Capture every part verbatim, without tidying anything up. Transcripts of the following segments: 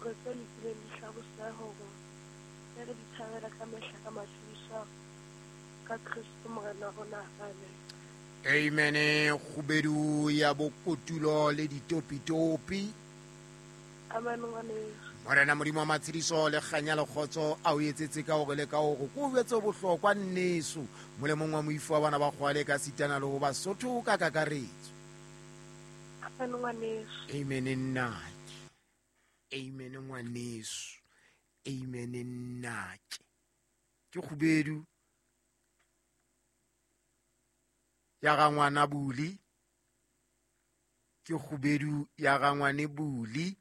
Hore tse lokileng di hlabose ho rona. Re di thabela ka mehla ka matshediso ka Kristo Morena rona. Amen. Amen. Kgubedu ya bokotulo le ditopitopi. Amen ngwaneso. Morena Modimo wa matshediso le kganya le kgotso a o etsetse ka hore le ka hore ko jwetse bohlokwa nneso molemong wa moifo wa bana ba kgwale ka sitana le ho Basotho ka kakaretso. Amen ngwaneso. Amen nnake. Amen ngwaneso. Amen nnake. Ke kgubedu ya ga ngwana Buli. Ke kgubedu ya ga ngwane Buli.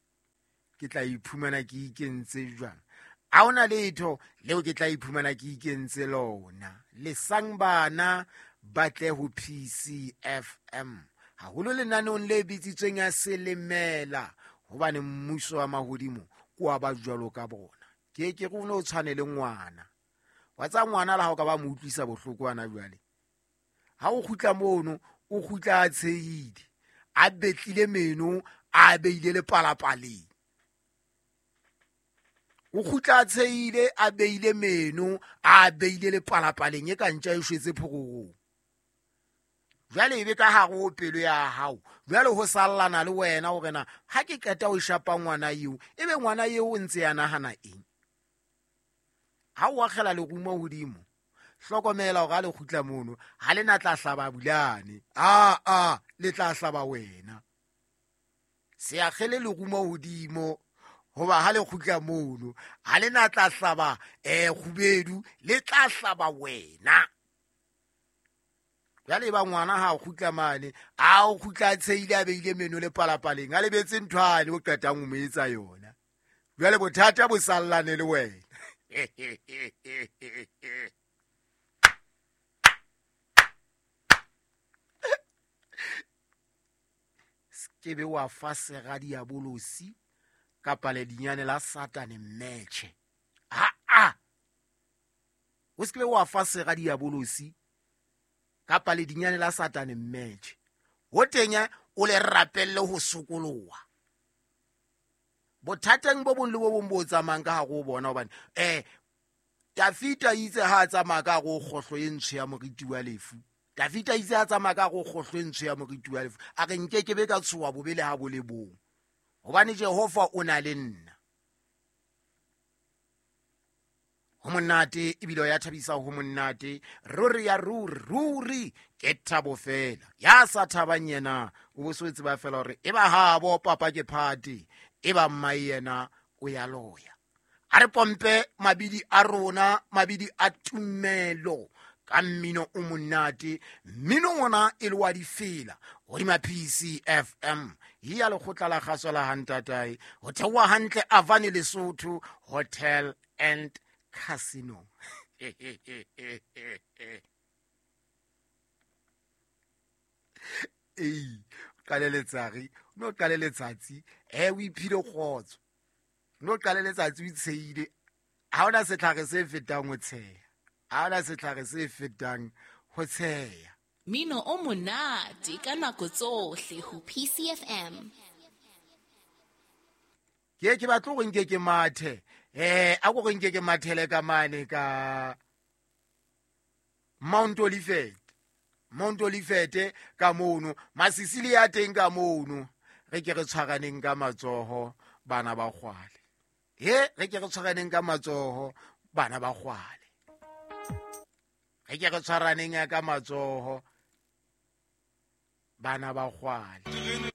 Ke tla iphumana ke ikentse jwang? Ha hona letho leo ke tla iphumana ke ikentse lona. Lesang bana ba tle ho P C F M. Haholo lenaneong le bitsitsweng ya Selemela, hobane mmuso wa mahodimo ke wa ba jwalo ka bona. Ke ke re o no tshwane le ngwana. Wa tsa ngwana le ha o ka ba mo utlwisa bohloko hana jwale. Ha o kgutla mono, o kgutla a tshehile, a betlile meno, a beile le palapaleng. O kgutla a tshehile, a beile meno, a beile le palapaleng e ka ntja e shwetse phororong. Jwale ebe ka hare ho pelo ya hao, jwale ho sallana le wena hore na ha ke qeta ho shapa ngwana eo, ebe ngwana eo o ntse a nahana eng? Ha o akgela lerumo hodimo, hlokomela hore ha le kgutla mono, ha le na tla hlaba Bulane. A a, le tla hlaba wena. Se akgele lerumo hodimo, hoba ha le kgutla mono, ha le na tla hlaba eh kgubedu, le tla hlaba wena. Jwale ba ngwana ha o kgutla mane, a o kgutla a tshehile a beile meno le palapaleng, a lebetse nthwane o qetang ho mo etsa yona. Jwale bothata bo sallane le wena. Ke be wa fa sera diabolosi kapa ledinyane la Satane mmetjhe. Ha a. O se ke be wa fa sera diabolosi kapa ledinyane la Satane mmetjhe. Ho teng o le rapelle ho sokoloha. Bothateng bo bong le bo bong bo tsamayang ka hare ho bona, hobane eh Dafita itse ha a tsamaya ka hare ho kgohlo e ntsho ya moriti wa lefu. Dafita itse ha tsamaya ka hare ho kgohlo e ntsho ya moriti wa lefu. A re nke ke be ka tshoha bobe le ha bo le bong, hobane Jehova o na le nna. Ho monate ebile ya thabisa, ho monate ruri ya ruri ruri ke thabo fela. Ya sa thabang yena o bo so tseba fela hore e ba habo papa ke party, e ba mma yena o ya loya. A re pompe mabidi a rona, mabidi a tumelo ka mmino o monate. Mmino ona e le wa difela hodima P C F M ya lekgotla la kgaso la Hantatae, ho theoha hantle Avani Lesotho Hotel and Casino. Ei, qale letsatsi, no qale letsatsi, eh o iphile kgotso. No qale letsatsi o itsheile. Ha hona setlhare se fetang ho tsheha. Ha hona setlhare se fetang ho tsheha. Mino o monate ka nako tsohle ho P C F M. Ke ke batla hore nke ke mathe. Eh, a go nke ke mathele ka mane ka Mount Olivet. Mount Olivet ka mono, Masisili ya teng ka mono. Re ke re tshwaraneng ka matsoho bana ba kgwale. He, re ke re tshwaraneng ka matsoho bana ba kgwale. Re ke re tshwaraneng ka matsoho bana ba kgwale.